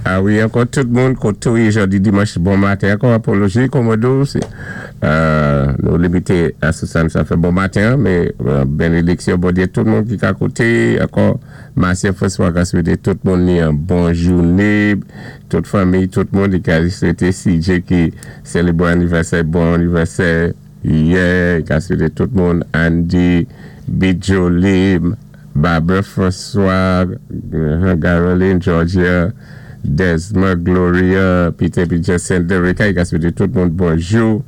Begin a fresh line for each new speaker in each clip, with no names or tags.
A wi, ankò tout moun koté ou yé jòdi dimanch, bon maten ankò. Apoloji Komodo, nou limité a sou sa sa fè bon maten, mé benediksyon Bondyé tout moun ki ka kouté. Ankò Marcia François ka swété tout moun ni yon bon jouné, tout fanmi, tout moun. Li ka swété CJ ki sélébwé anivèsè, bon anivèsè yè. Li ka swété tout moun, Andy, Bijoli, Barbara François, Caroline, Georgia, Desmond, Gloria, Peter, Peter, Senderica, li ka swété tout moun bonjou.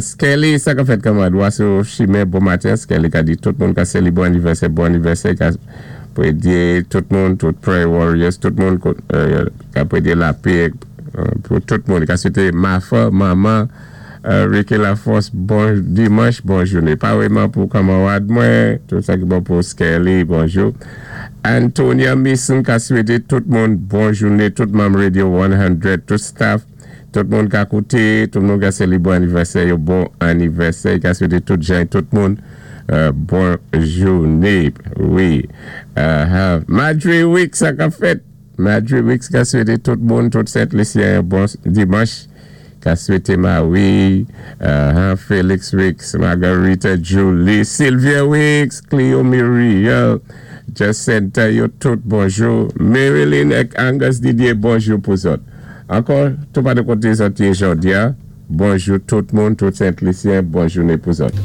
Skelly, sa ka fèt kanmad, Waso Chimè, bon maten. Skelly ka di tout moun ka sélébwé anivèsè, bon anivèsè, ka pwédyé tout moun, tout Prayer Warriors, tout moun ka pwédyé lapè pou tout moun. Ka swété Mafa, Maman, Ricky Laforce, bon dimanch, bon jouné. Paréyman pou kanmarad mwen, tout sa ki bon pou Skelly, bonjou. Antonia Mason ka swété tout moun bon jouné, tout manm Radio 100, tout staff, tout moun ka kouté, tout moun ka sélébwé anivèsè, yo bon anivèsè, ka swété tout jan, tout moun bon jouné. Wi. Madre Week, sa ka fèt. Madre Week ka swété tout moun, tout Sent Lisyen, bon dimanch. Ka swété Marie, Felix Weeks, Margarita Julie, Sylvia Weeks, Cleo Muriel, Jacinta, yo tout bonjou. Marilyn ak Angus Didier, bonjou pou zòt. Ankò, tou pa de koté zòt yé jòdi a, bonjou tout moun, tout Sent Lisyen, bon jouné pou zòt.